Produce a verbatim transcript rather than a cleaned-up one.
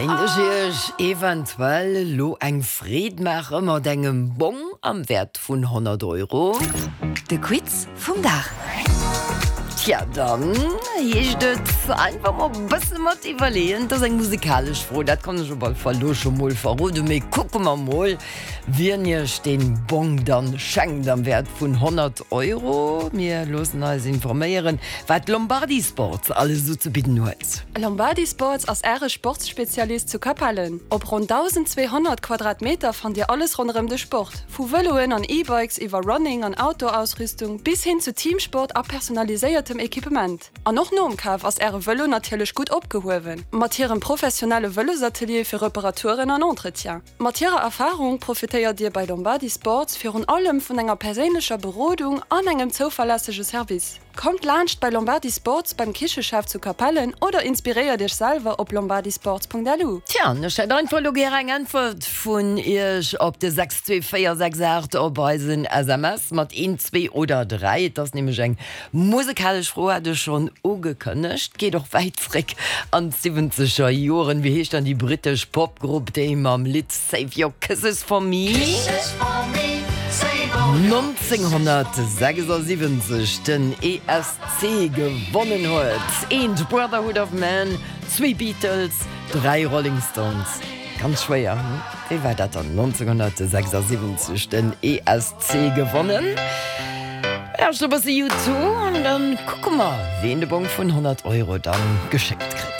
Kéint ech iech eventuell elo eng Freed maache mat engem Bong am Wäert vun honnert Euro? De Quiz vum Dag. Tja, dann heescht et einfach mol e bësse mat iwwerleeën. Et ass eng musikalesch Fro, dat kann ech op alle Fall elo scho mol verroden. Mee kucke mer mol, wien iech dee Bong dann schenkt am Wäert vun honnert Euro. Mir loossen eis informéieren, wat Lombardi Sports alles esou ze bidden huet. Lombardi Sports ass Äre Sportsspezialist zu Capellen. Op ronn dausenzweehonnert Quadratmeter fannt Dir alles ronderëm de Sport, vu Vëloen an E-Bikes iwwer Running an Outdoor-Ausrüstung bis hin zu Teamsport a personaliséiertem Equipement. An och nom Kaf ass Äre Vëlo natierlech gutt opgehuewen, mat hirem professionelle Vëlosatelier fir Reparaturen an Entretien. Mat hirer Erfarung profitéiert Dir bei Lombardi Sports virun allem vun enger perséinlecher Berodung an engem zouverlässege Service. Kommt laanscht bei Lombardi Sports beim Kicheschef zu Capellen oder inspiréiert Iech selwer op lombardisports.lu. Tja, an ech hätt einfach elo gär eng Äntwert vun Iech op de sechs zwee véier sechs aacht op eisen S M S mat een, zwee oder dräi. Et ass nämlech eng musekalesch Fro, hat ech schonn ugekënnegt. Geet och wäit zréck an d'siwwenzeger Joren. Wéi heescht dann déi brittesch Popgrupp, déi mam Lidd Save Your Kisses For Me nonzénghonnertsechsasiwwenzeg den E S C gewonnen huet? Eent, Brotherhood of Man, zwee Beatles, dräi Rolling Stones. Ganz schwéier, hm? Wéi war dat dann nonzénghonnertsechsasiwwenzeg den E S C gewonnen? Lauschter e bësse U two an dann kucke mer, ween de Bong vun honnert Euro dann geschéckt kritt.